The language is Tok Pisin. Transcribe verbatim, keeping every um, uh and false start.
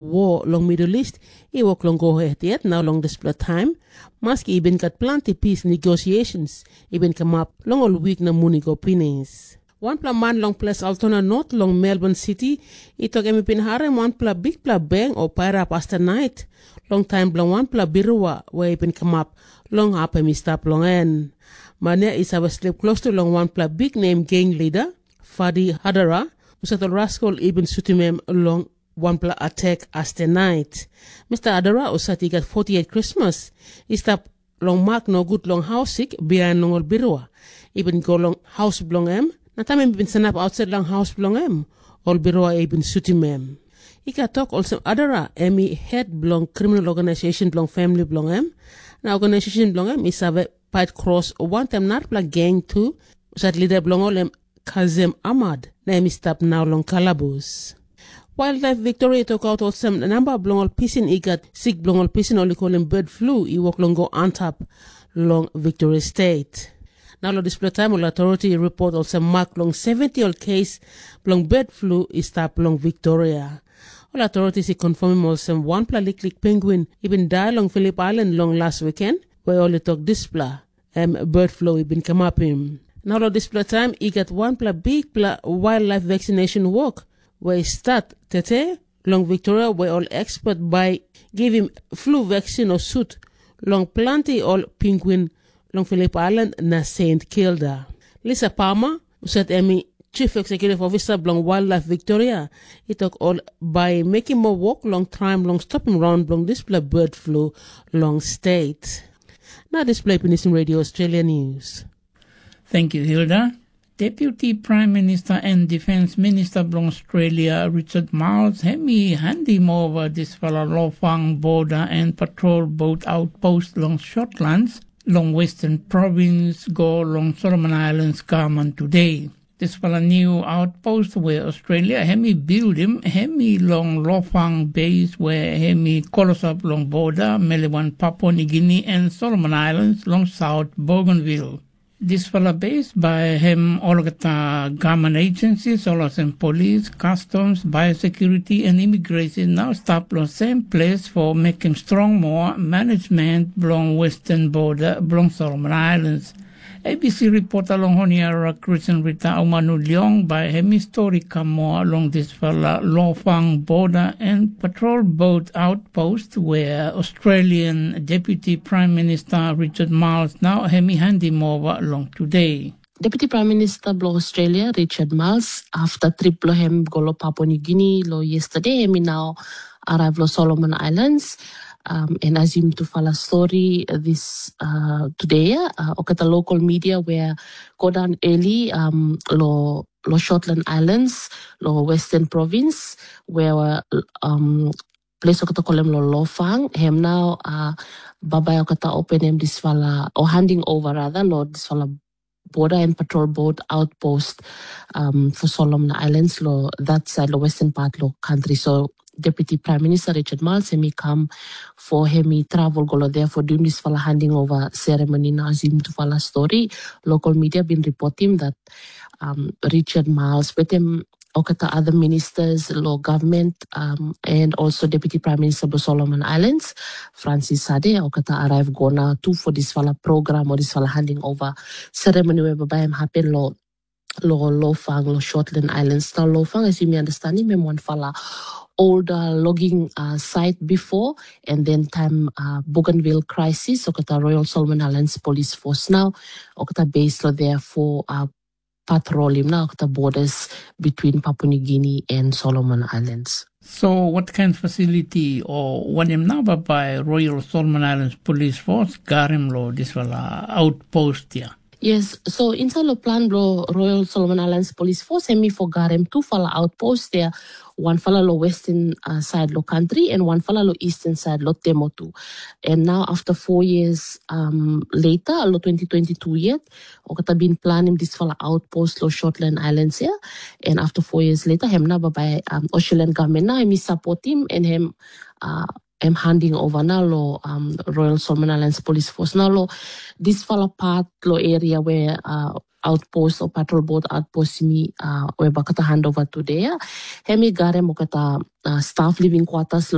Wo long Middle East i wok long go het yet na long dispela taim, maski i bin gat planti pis negosiasins i bin kamap long ol wik na mun i go pinis. Wanpela man long ples Altona Not long Melbourne City i tok em i bin harim wanpela bikpela beng o pairap astanait long taim bilong wanpela birua we i bin kamap long hap em i stap long en. Man ya i save slip klostu long wanpela biknem geng lida, Fadi Hadara, husat ol raskol i bin sutim em long wanpela atek aste nait. Mista Hadara, husat i gat forty-eight krismas, i stap long mak nogut long haus sik bihain long ol birua. I bin go long haus bilong em, na taim em i bin sanap ausait long haus bilong em, ol birua i bin sutim em. I gat tok olsem Hadara em i het bilong kriminal organisation bilong famili bilong em, na organisation bilong em i save pait kros wantaim narapela geng tu, husat lida bilong ol em Kazem Ahmad, na em i stap nau long kalabus. Wildlife Victoria i tokaut olsem namba bilong ol pisin i gat sik bilong ol pisin ol i kolim bird flu i wok long go antap long Victoria State. Na long dispela taim ol authority i ripot olsem mak long seventy ol kes bilong bird flu i stap long Victoria. Ol authorities i confirmim olsem wanpela liklik penguin i bin dai long Philip Island long las weekend, we ol i tok dispela em bird flu i bin kamapim. Na long dispela taim i gat wanpela bikpela wildlife vaccination wok we i stat tete long Victoria, we ol expert bai givim flu vaksin o sut long planti ol penguin long Philip Island na Saint Kilda. Lisa Palmer, husat em i Chief Executive Officer bilong Wildlife Victoria, i tok ol bai mekim moa wok long traim long stopim raun bilong dispela bird flu long state. Na dispela i pinisim Radio Australia News. Thank you, Hilda. Deputy Prime Minister and Defence Minister bilong Australia, Richard Marles, hem i handim ova dispela Lofang Border and Patrol Boat Outpost long Shortlands, long Western Province, go long Solomon Islands, Kaman today. Dispela new outpost where Australia hem i buildim, hem i long Lofang base where hem i kolosap long border, Melewan, Papua New Guinea and Solomon Islands long South Bougainville. Dispela base by hem olgeta government agencies, olsem police, customs, biosecurity and immigration now stap long same place for making strong more management bilong western border bilong Solomon Islands. A B C reporter long Honiara Christian Rita Aumanu Leong by hemi story come more along this fella Lofang border and patrol boat outpost where Australian Deputy Prime Minister Richard Marles now hemi handing over along today. Deputy Prime Minister bilong Australia, Richard Marles, after trip bilong hem go lo Papua New Guinea lo yesterday, hem i nau arrive lo Solomon Islands. Um, and as yum tufala story uh, this uh, today, uh, okata local media where go down early um, lo lo Shortland Islands, lo Western Province, where um, place okata kolem lo Lofang, hem nau uh, babai okata open hem disfala, or handing over rather, lo disfala border and patrol boat outpost um, for Solomon Islands lo that side lo western part lo country. So Deputy Prime Minister Richard Marles hemi come for hemi travel golo there for doing this fala handing over ceremony. Now as him to fala story, local media been reporting that um, Richard Marles with him okata other ministers, law government, um, and also Deputy Prime Minister of Solomon Islands, Francis Sade, okata arrive gona too for this fala program or this fala handing over ceremony where by him happen law lo Lofang, lo Shortland Islands. Now Lofang, as you may understand him, him one fala older logging uh, site before, and then time uh, Bougainville crisis, okata Royal Solomon Islands Police Force now, okata base lo there for uh, patrol him now, okata borders between Papua New Guinea and Solomon Islands. So what kind of facility or wanem naba by Royal Solomon Islands Police Force garim lo this fala outpost here? Yes, so inside lo plan blo Royal Solomon Islands Police Force, hemi for garim two fala outpost there, one fala lo western uh, side lo country and one fala lo eastern side lo Temotu. And now after four years um, later, lo twenty twenty-two yet, okata been planning this fala outpost lo Shortland Islands here. And after four years later, hem na by um, Australian government now, hemi support him and him uh, em handing over na lo um, Royal Solomon Islands Police Force. Na lo this fala part lo area where uh, outpost o patrol boat outpost mi uh, we bakata handover today ya. Hemi garem okata uh, staff living quarters